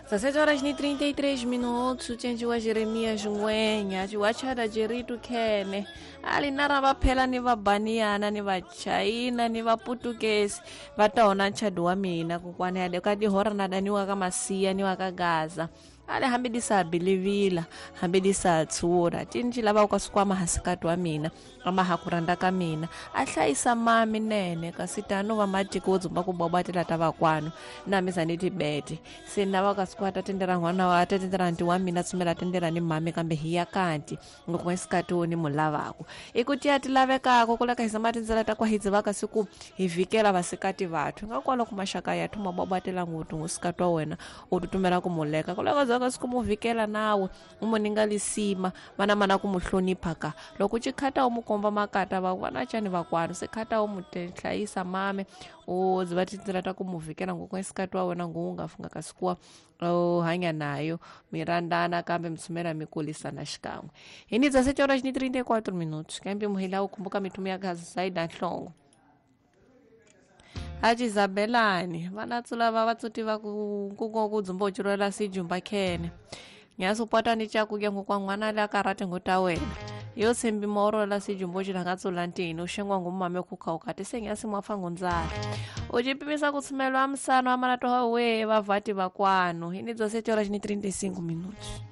17 horas ni 33 minutos cenjiwa Jeremias Ngwenya ciwachada jeritu khene ali nara va phela ni va baniyana ni va china ni va putukesi va ta ona nchado wa mina kokwana ya ka dihora na daniwa ka masiya ni wa ka Gaza ale hambi di sa bilivila hambi di sa tsura tinji lava ka sikwama hasikati wa mina ama ha ku rhandza ka mina a hlayisa mami nene kasi tano va matiko wo dzumba ku bobatela ta vakwano na mi za ni tibete se na va ka sikwata tendera n'wana wa ta tendera nti wa mina tsumela tendera ni mami kambe hi ya kanti ngoko isikati wo ni mu lavako i ku tiya ti lavekako ku leka hisa matindzela ta kwa hi dzivaka siku hi vhikela vasikati vathu nga kwala ku maxaka ya thuma bobatela nguthu ngusikati wa wena u tutumela ku muleka ku leka dzivaka siku mu vhikela nawe u mu ninga lisima vana mana ku mu hlonipha ka loko chikhata u mu komba makata va vana chani vakwanu se khata u mu hlayisa mame u dziva tindzela ta ku mu vhikela ngoko isikati wa wena ngu nga funga ka sikuwa u hanya nayo mi rhandzana kambe mi tsumela mi kulisana xikan'we hi ni 17 horas ni 34 minutos kambe muhila u khumbuka mithumu ya gazaida nhlongo achizabelani vanatsula va vatsuti va ku ku ku dzumba uchiroela sijumba khene nyasupota ni chakudya ngokwa n'wana le akarati ngota wena yo tshembi morola sijumba uchila nga tsula ntini uxengwa ngumame kukhauka tise nyasi mwafa ngundzala uchipimisa kutsumelwa misano amanatoha we vavhati vakwanu hi ni 17 horas ni 35 minutos.